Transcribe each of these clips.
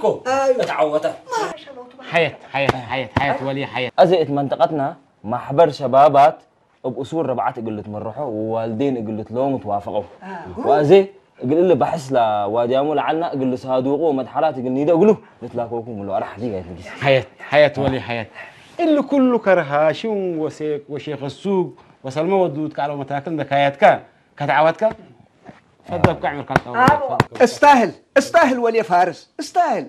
ኣልኮ። ኣዩ። እታ ዓወታ። ሓየት ሓየት ሓየት ሓየት ወሊ ሓየት። እዚ እቲ መንጠቐትና ማሕበር ሸባባት እብ እሱር ረብዓት እግል ልትመርሖ ወዋልዴን እግል ልትለወሙ ትዋፈቐው። ወኣዜ እግል እሊ ባሕስ ላዋድያሙ ለዓልና እግል ልሳዱቁ ወመድሓራት እግል ኒደ እግሉ ልትላከውኩም ብሎ ኣራሕ ዲጋ ይትንጊስ። ሓየት ሓየት ወሊ ሓየት። እሊ ኩሉ ከርሃሽም ወሼኸሱግ ወሰልመ ወዱድ ካልኦ መታክል እንደ ካያትካ ከተዓዋትካ ፈደብካ ዕምርካ ትጠውር። እስተህል እስተህል ወልየ ፋርስ እስተህል።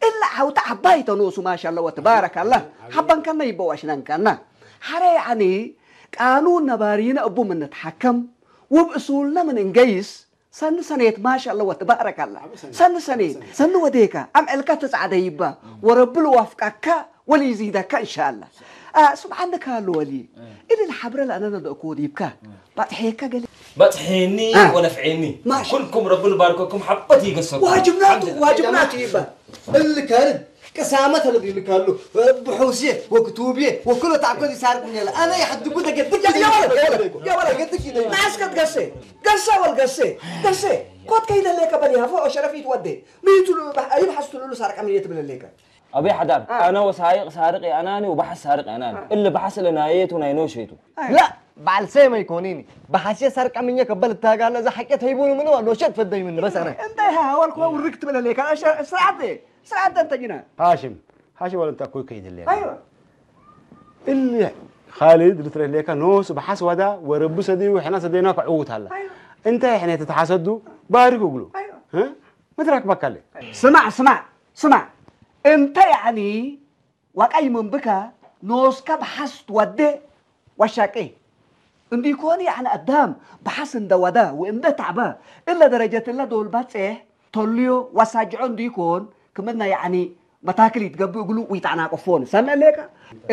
እላ ዓውታ ዓባይ ተኖሱ ማሻላ ወትባረካላ። ሓባንካና ይበዋሽናንካና ሓረ ያኒ ቃኑን ነባሪነ እቡ ምንትሓከም ውብ እሱልነ ምን እንገይስ ሰኒ ሰኔት ማሻላ ወትባረካላ። ሰኒ ሰኔት ሰኒ ወዴካ ኣምዕልካ ትጻዕደ ይባ ወረብል ዋፍቃካ ወልይዚደካ እንሻላ። ስምዓኒ ካሉ ወሊ እልል ሓብረ ለኣነነ ደእኮ ዲብካ ባጥሐካ ገለ በጽሐኒ አ። ወነፍዐኒ ማሽ። ኩልኩም ረቢ ልባርከኩም ሓበት ይገሰኩም ዋጅብናቱ ዋጅብናቱ ይባል። እልካልን ቅሳመት ለብ ይልካሉ ብሑሴ ወክቱቤ ወክሎ ታዕኮ ይሳርቁም ያለ ኣነ ይሐድጉ ተገድግ يا ولد يا ولد يا ولد قدك يدي ناس قد قسي قسي والقسي قسي كوت كيد لك بلي هفو شرفيت ودي ميتو يبحث له سارق من يتبل لك أبي حدار اه. أنا وسايق سارق يا أناني وبحث سارق يا أناني اللي بحث لنا يتو ناينو شيتو لا بعل سيما يكونيني بحث يا سارق من يكبل التاقال إذا حكيت هيبوني منه ولا شت فدي منه بس أنا انت يا اول كو وركت بلا ليك سرعت سرعت انت جنا هاشم هاشم ولا انت اكوي كيد اللي ايوه اللي خالد لتر ليك نوس بحث ودا ورب سدي وحنا سدينا كعوت هلا ايوه انت احنا تتحسدوا بارك وقلوا ايوه ها مترك بكالي ስማዕ ስማዕ ስማዕ እንተ ያዕኒ ዋቃይ መንብካ ኖስካ ብሓስ ትወደ ወሻቄ እንዲኮን ያዕኒ ኣዳም ብሓስ እንደ ወደ ወእንደ ታዕበ እለ ደረጀት እለ ዶል ባጼሕ ተልዮ ወሳጅዖ እንዲኮን ክምና ያዕኒ መታክል ይትገብእ እግሉ ውይጣዕናቀፎን ሰምዕ ሌካ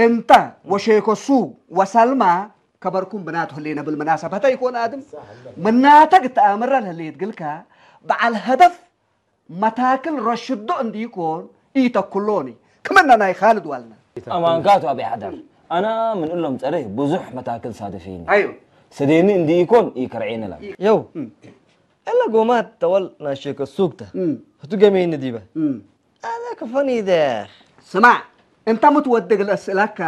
እንተ ወሼኮሱ ወሰልማ ከበርኩም ብናት ህሌነ ብልመናሰበተ ይኮን ኣድም ምናተ ግተኣምረ ለህሌት ግልካ በዓል ሀደፍ መታክል ረሽዶ እንዲኮን ኢተኩሎኒ ክመና ናይ ካልድ ዋልና ኣማንካቱ ኣቢ ሓዳር ኣና ምን እሎም ጸረ ብዙሕ መታክል ሳደፊኒ ኣዮ ሰደኒ እንዲኢኮን ኢከርዔኒ ላ የው እላ ጎማት ተወል ናሸከ ሱግተ ህቱ ገሜኒ ዲበ ኣነ ክፈኒ ይደ ስማዕ እንተ ምትወድግ ለስእለካ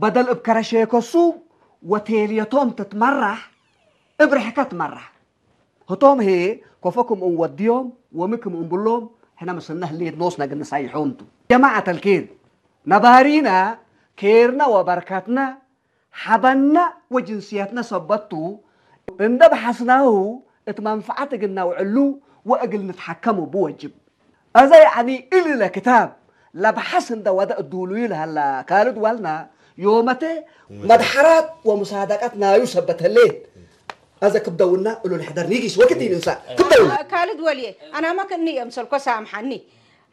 በደል እብ ከረሼከ ሱግ ወቴልየቶም ትትመራሕ እብ ርሕከ ትመራሕ ህቶም ሄ ኮፈ ክምኡን ወድዮም ወሚ ክምኡን ብሎም ሕነ ምስልነ ህሌት ኖስነ ግንሳይሖም ቱ ጀማዓት አልኬር ነባሪና ኬርና ወበርከትና ሓበና ወጅንስየትና ሰበት ቱ እንደ በሐስናሁ እት መንፈዓት እግል ነውዕሉ ወእግል ንትሐከም እቡ ወጅብ። አዘ ያዕኒ እሊ ለክታብ ለበሐስ እንደ ወደ እዱሉዩ ለሀላ ካልድ ዋልና ዮመቴ መድሐራት ወሙሳደቀት ናዩ ሰበት ህሌት። አዘ ክብደውና እሉ ንሕደር ኒጊስ ወክት ይንሳ ክብደውና። ካልድ ወልየ አናማ ክእኒ የምሰልኮ ሳምሓኒ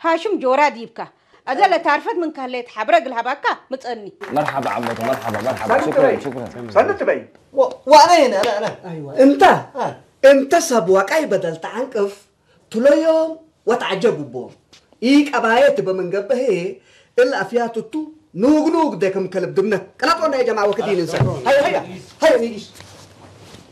ሃሽም ጆራ ዲብካ አዘ ለታርፈት ምን ከህሌት ሐብረ እግል ሀባካ ምጸኒ። መርሐባ ዓመቱ መርሐባ መርሐባ ሽክረን ሽክረን። ሰንት በይ ዋዕነ ይነ አነ አነ አይዋ እንተ አ እንተ ሰብ ዋቃይ በደል ተዓንቅፍ ትሎዮም ወተዓጀብ እቦም። ኢ ቀባየት በመንገበሄ እል አፍያትቱ ኑግ ኑግ ደክም ከልብ ድምነት ቀላጦና የጀማ ወክት ይንሰ ሀይ ሀይ ሀይ ኒጊስ